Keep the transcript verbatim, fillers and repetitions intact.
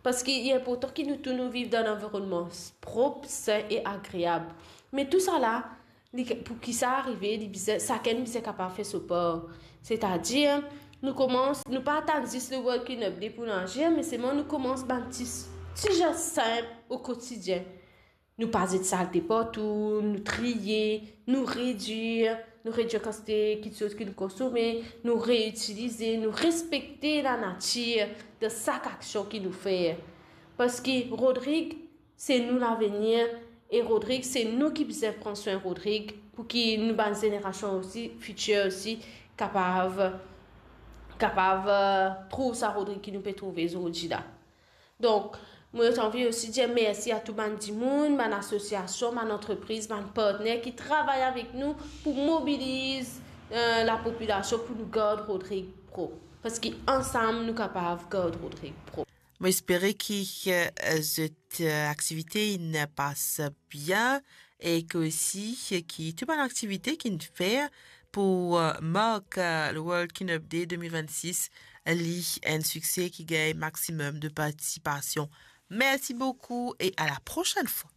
Parski li inportan ki nou tou nou viv dan enn lanvironnman prop, sin e agreab. Me tousala, li, pou ki sa arive, li bizin, sakenn bizin kapav fer so par. Setadir, nou koumans, nou pa atann zis le World Clean Up Day pou nou azir, me selman nou koumans bann ti, ti zes sinp o kotidien. Nou pa zet salte partou, nou triye, nou redir, nou redir kantite kitsoz ki nou konsome, nou reitilize, nou respekte lanatir dan sak aksion ki nou fer. Parski Rodrig, se nou lavenir, e Rodrig, se nou ki bizin pran swin Rodrig, pou ki nou bann zenerasion osi, fitir osi, kapav, kapav, eh, trouv sa Rodrig ki nou pe trouve zordi la. Donk, mo ti anvi osi dir mersi a tou bann dimoun, bann asosiasion, bann antrepriz, bann partner ki travay avek nou pou mobiliz, eh, lapopilasion pou nou gard Rodrig prop. Parski ansam nou kapav gard Rodrig prop. Mo espere ki, eh, zot, eh, aktivite inn pas bien e ki osi ki tou bann aktivite ki inn fer pou, eh, mark, eh, le World Clean Up Day de mil vennsis, li enn sikse ki gagn maximum de partisipasion. Merci beaucoup et à la prochaine fois.